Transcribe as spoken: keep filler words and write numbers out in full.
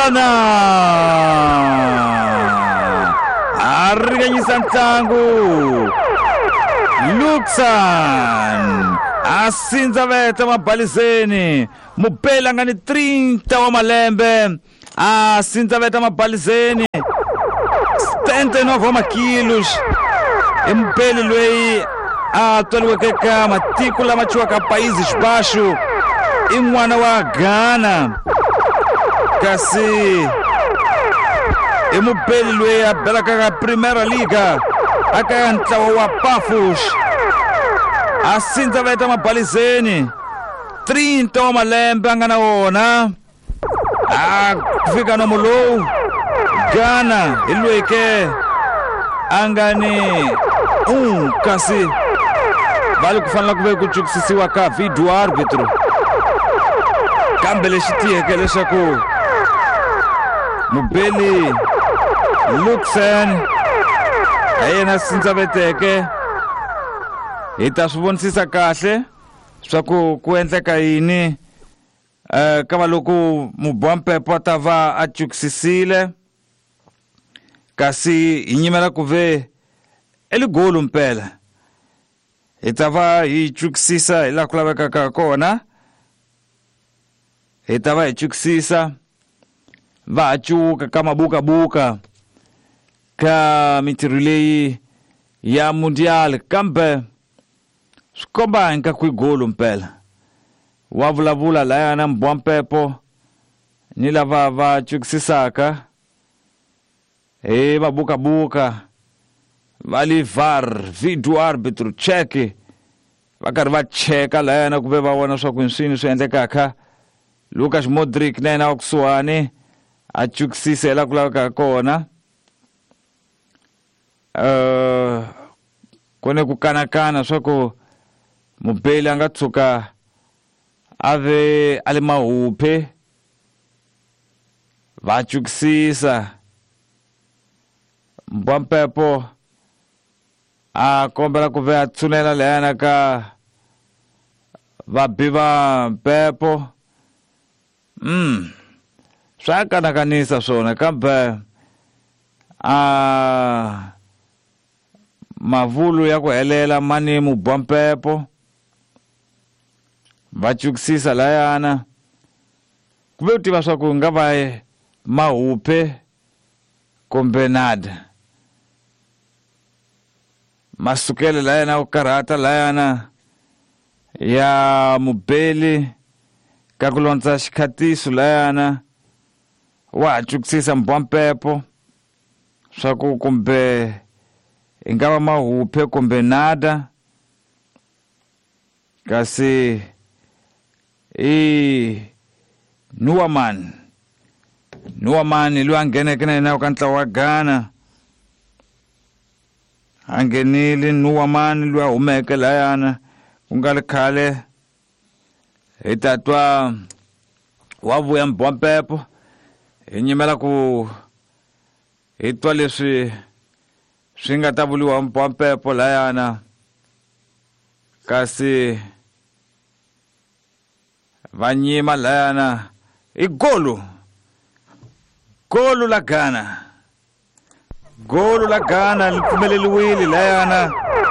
Ghana a ringanyisa ntlangu Luxan a sindzaveta mabalizeni mubeli a nga ni trinta wa malembe a sindzaveta mabalizeni setenta e nove wa makilos i mubeli loyi a tswariweke ka matiko lama thyiwaka Países Baixos i n'wana wa Ghana kasi i mubeli loyi a belaka ka Primeira Liga aka ntlawa wa Pafos a sindzaveta mabalizeni trinta wa malembe a nga na wona a fika nomo lowu Ghana hi loyi ke a nga ni um kasi va le ku fanela ku ve ku cukisisiwa ka video árbitro kambe lexi tiyeke leswaku mubeli Luxen a yena sindzaveteke hi ta swi vonisisa kahle swa ku ku endleka yini eh ka va loko mubwampepo a ta va a cukisisile kasi hi nyimela ku ve eligolo mpela hi ta va hi cukisisa hi laha ku lavekaka kona hi ta va hi cukisisa va ha cuka ka mabukabuka ka mintirho leyi ya mundial kambe swi komba ingaku i golo mpela wa vulavula layana mbwampepo ni lava va cukisisaka hi mabukabuka va li V A R video arbitro check va karhi va cheka layana ku ve va vona swa ku hi swi endlekaka Lucas Modric na yena wa kusuhani a cukisisa hi laha ku lavekaka kona uh, ku ne ku kanakana swa ku mubeli a nga tshuka a ve a le mahuphe va cukisisa mbwampepo a kombela ku ve a tshunela layana ka vabi va mpepo mm swa kanakanisa swona kambe a mavulu ya ku helela mani mubwampepo va cukisisa layana ku ve u tiva swa ku nga va mahuphe kumbe nada masukelo layana ku karhata layana ya mubeli ka ku londza xikhatiso layana wa ha cukisisa mbwampepo swa ku kumbe i nga va mahuphe kumbe nada kasi i Nuwaman Nuwaman loyi a ngheneke na yena ka ntlawa wa Ghana a nghenile Nuwaman loyi a humeke layana ku nga ri khale hi ta twa wa vuya mbwampepo hi nyimela ku hi twa leswi swi nga ta vuriwa mbwampepo layana kasi va nyima layana i golo golo la Ghana golo la Ghana li pfumeleliwile layana